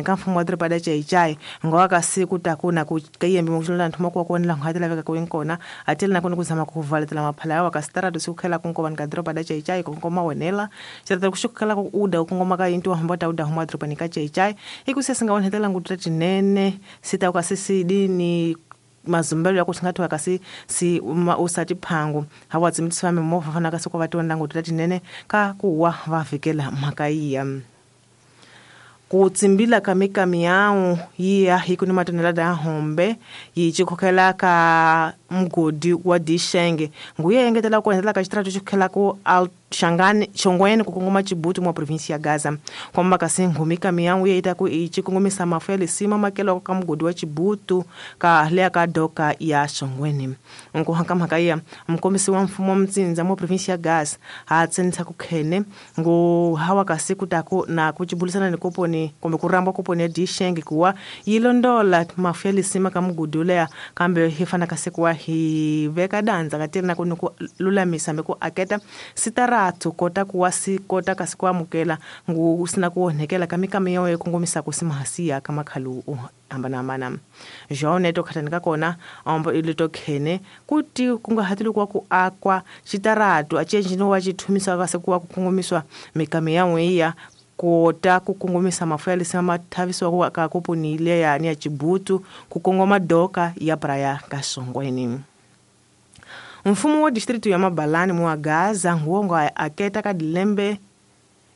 Ka mfumo wa doroba la Chaichai ngowa kasi ku ta ku na ku kayembe muxulula nthuma ku wa ku la ngati laveka ku inkona atela na ku ni ku zama ku valetela maphala yawa ka sitaratu siku khela ku nkova ka doroba la Chaichai ku nkoma wenela xirata ku xukela ku uda ku ngoma ka yintu hamba ta uda huma doroba ni ka Chaichai iku se singa onhetela ngutra tinene sita ka sisidi ni mazumbelo ya ku singathiwa kasi si usati phangu hawa tsimitisiwa mimovha fana kasi ku va tiwona ngutra tinene ka kuwa va fikela mhaka iya ku tsimbila ka mikamiyawu yiya hi ku ni matonelada ya hombe yi chikhokela ka mugodi wa dixenge nguye engetela ku endlela ka xitaratu xikhela ku Shangani Shongweni ku kongoma Chibuti mwa provinsi ya Gaza kwamba kasi nghumi kamiyangu yeita ku ichikongomisa mafu ya lisima makelo ka mugodi wa Chibutu ka lea ka doka ya Shongweni nkuhanka mhaka ya mkombisi wa mfumo mtsinza mwa provinsi ya Gaza hatsenisa ku khene ngu hawa kasi kutako na kuchibulisana ni koponi kumbe kuramba koponi ya dixenge kuwa yilondola mafu ya lisima ka mugodi ulea kambe hifana kasi kuwa hi veka danza katiri na ku lulamisa meku aketa sitara kota kuwasi kota kasi kuamukela ngu sina kuonekela kamikamiyo yekungomisa kusimahasiya kamakhalu hambanahambana João Neto khatani ka kona ombo ilito khene kuti kungahatili kwa ku akwa xitaratu a cenjini wa xithumisa kasi kuwa kukongomiswa mikami ya n'wiya kota kukongomisa mafu ya lisima mathavisiwa ka koponile yani ya Chibutu kukongoma doka ya Praia ka Shongweni. Mfumo wa distritu ya Mabalani mwa Gaza nguongo aketa ka dilembe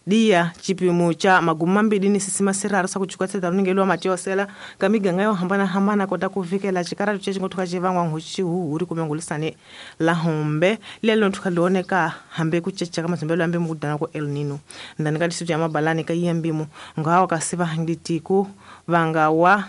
dia chipimo cha maguma mbili ni sisima siraru sa kuchukua tseta runingeliwa matiosela ka miganga yo hambana hambana kota kuvikela chikaratu chechingo chivangwa nguchi huhuri kumengulisane la hombe lelo nthuka lioneka hambe kuchecha ka mazumbelo ambe mukudana ku El Nino ndani ka distritu ya Mabalani ka iyambimo ngawa kasiva hangitiku vangawa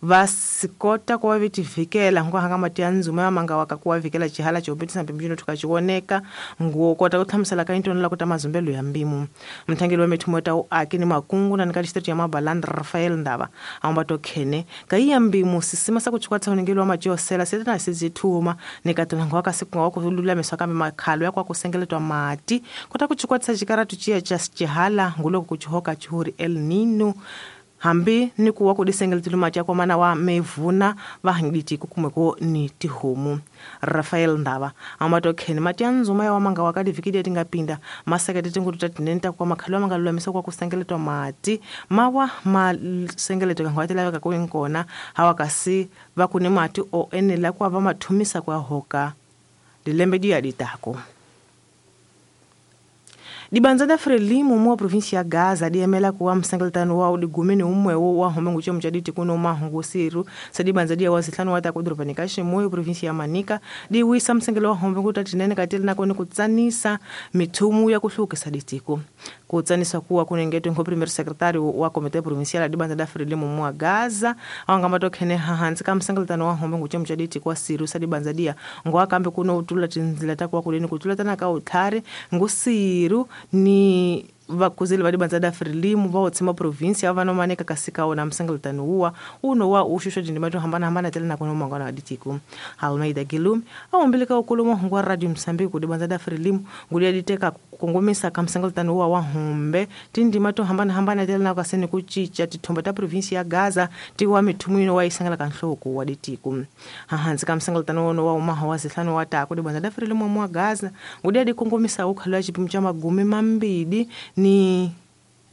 vasikota kuwa vitivikela nguhanga mati ya nzuma ya manga wakakuwa vikela chihala chopitisa mpimjino tukachioneka nguo kota kuthamusela ka intoni la kuta mazumbelo ya mbimu mthangeli wa mithumo ta uaki ni makungu na nikadistrict ya Mabalani Rafael Ndava amba tokhene ka iya mbimu sisima sa kuchukua tsaunengeli wa matiosela setana sizithuma nikatona ngwa kasiku ngwa kululamisa kambe makhalo ya kwa kusengeletwa mati kota kuchukua tsa chikaratu chiya cha chihala nguloko kuchihoka chihuri El Nino hambi ni kuwa kudisengeletile mati ya kwamana wa mevuna vahangiditi kukumweko ni tihomu Rafael Ndava amatokhene mati ya nzuma ya wamanga wakadivikidi atingapinda masekete tingutu tatinenta kwa makhalo amangalulamisa kwa kusengeletwa mati mawa masengeletwa kangwatilaveka kuinkona hawakasi vakune mati o enela kwa vamathumisa kwa hoka dilembe diya ditako. Dibanza da Frelimo mwa província ya Gaza diemela kuwa msengeletano wa udigumeni umwewo wa homengu chemu chaditi kuno mahungu siru sa dibanza dia wasihlanu wata kudropanika shimoyo província ya Manica diwisa msengelo wa homengu tatinene katili nakoni kutsanisa mithumu ya kuhlukisa ditiko kutsanisa kuwa kunengetwe nko primeiro secretário wa Comité Provincial ya dibanza da Frelimo mwa Gaza awangamba tokhene hahansi ka msengeletano wa homengu chemu chaditi kwa siru sa dibanza dia ngwakambe kuno utula tinzila takuwa kuleni kutula tana ka utlhari ngusiru ni vakuzeli va dibanza da Frelimo va hotsima provinsia va nomaneka kasi ka wona msengeletano wuwa uno wa uxuxo dindima to hambanahambana tele nakona umangwana wa ditiko Almeida Gilumi a humbile ka ukulumo hungu wa Radio Mozambique ku dibanza da Frelimo ngulia diteka kukongomisa ka msengeletano wuwa wa humbe tindima to hambanahambana tele na kaseni ku cinca tithomba ta provinsia ya Gaza tiwa mithumu yino wa isangela ka nhloko wa ditiko hahansi ka msengeletano wono wa umaha wa zihlanu wa taku dibanza da Frelimo mwa Gaza ngulia dikongomisa ukhalo ya chipimo cha magumi mambili ni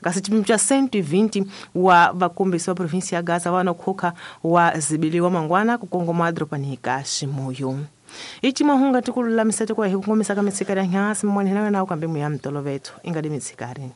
kasi chipimo cha 120 wa vakombisi wa provinsia ya Gaza vanokhuka wa zibiliwa mangwana kukongoma dropanika Shimoyo ichi mahunga tikululamisete kwa hi kukongomisa ka mitshikari ya nyasi mwanhina wena ukambe muya mtolovetho ingadi mitshikari.